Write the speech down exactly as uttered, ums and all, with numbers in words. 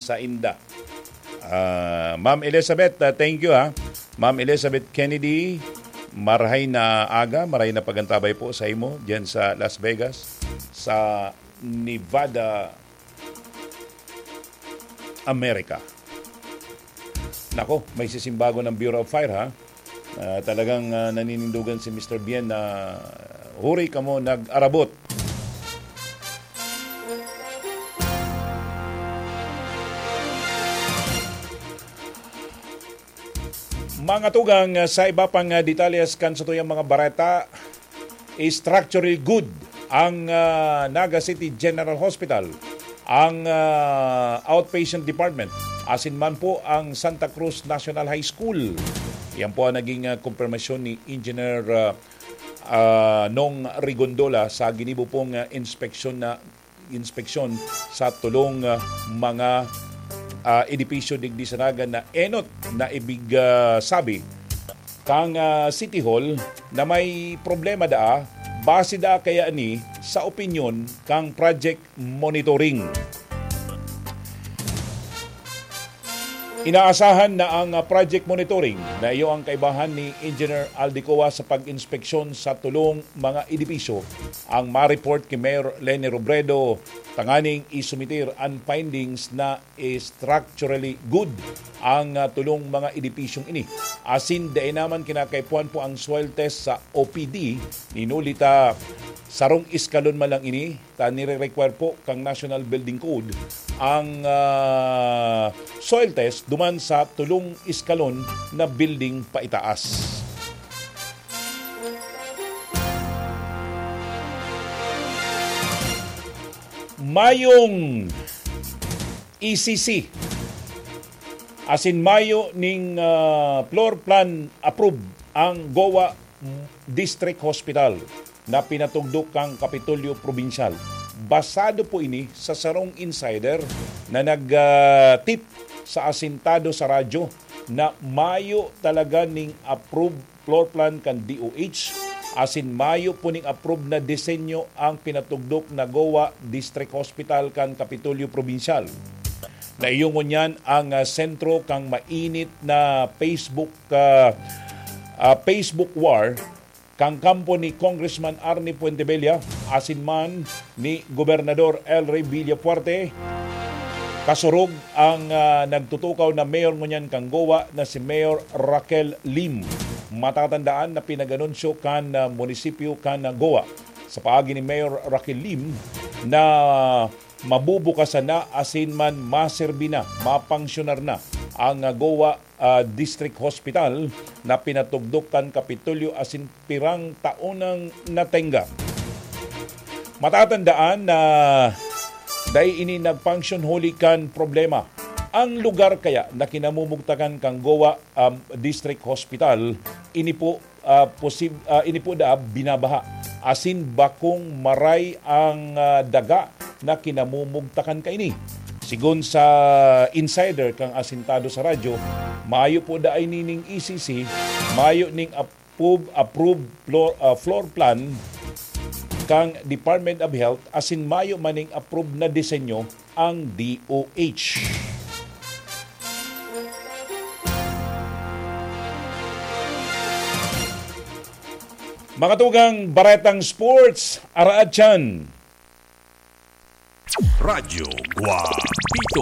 sainda. Ah, Ma'am Elizabeth, ah, thank you, ha. Ma'am Elizabeth Kennedy, marahay na aga, marahay na pagantabay po sa imo diyan sa Las Vegas, sa Nevada, America. Nako, may sisimbago ng Bureau of Fire, ha. Ah, talagang, ah, naninindugan si Mister Bien na, "Huri kamo, nag-arabot." Mga tugang, ah, sa iba pang, ah, detalles kan satuyang mga bareta, structurally good ang, ah, Naga City General Hospital, ang, ah, outpatient department, asin man po ang Santa Cruz National High School. Yan po ang naging, ah, kumpirmasyon ni Engineer, ah, ah, Nong Rigondola sa ginibo pong, ah, inspeksyon na inspeksyon sa tulong, ah, mga, ah, edipisyo digdi sa Naga na enot na ibig, ah, sabi kang, ah, City Hall na may problema daa, base daa kaya ni sa opinyon kang project monitoring. Inaasahan na ang, ah, project monitoring na iyo ang kaibahan ni Engineer Aldicoa sa pag-inspeksyon sa tulong mga edipisyo ang ma-report ki Mayor Leni Robredo tanganing isumitir an findings na structurally good ang, ah, tulong mga edipisyong ini. Asin dai naman kinakaipuhan po ang soil test sa O P D, ninuli ta sarong eskalon man lang ini, ta nire-require po kang National Building Code ang, ah, soil test duman sa tulong eskalon na building paitaas. Mayong E C C asin mayo ning, ah, floor plan approve ang Goa District Hospital na pinatugdok kang Kapitolyo Probinsyal. Basado po ini sa sarong insider na nag, ah, tip sa asintado sa radyo na mayo talaga ning approve floor plan kan D O H, asin mayo po ning approve na disenyo ang pinatugdok na Goa District Hospital kan Kapitolyo Probinsyal. Naiyo ngunyan ang, ah, sentro kang mainit na Facebook, ah, ah, Facebook war kan kampo ni Congressman Arnie Fuentebella asin man ni Gobernador El Rey Villafuerte. Kasurog ang, ah, nagtutukaw na mayor ngunyan kan Goa na si Mayor Raquel Lim. Matatandaan na pinag-anunsyo kan, ah, munisipyo kan, ah, Goa sa paagi ni Mayor Raquel Lim na mabubukasan na asin man maserbi na, mapangsyonar na ang, ah, Goa, ah, District Hospital na pinatugdok kan Kapitolyo asin pirang taon nang natenga. Matatandaan na dai ini nagpangsyon huli kan problema. Ang lugar kaya na kinamumugtakan kan Goa, um, District Hospital, ini po, ah, posib-, ah, ini po daa binabaha. Asin bakong maray ang, ah, daga na kinamumugtakan kaini. Sigon sa insider kang asintado sa radyo, mayo po daa ini ning E C C, mayo ning approve, approve floor, ah, floor plan kang Department of Health asin mayo man ning approve na disenyo ang D O H. Mga tugang, baretang sports, araat yan. Radyo Guapito.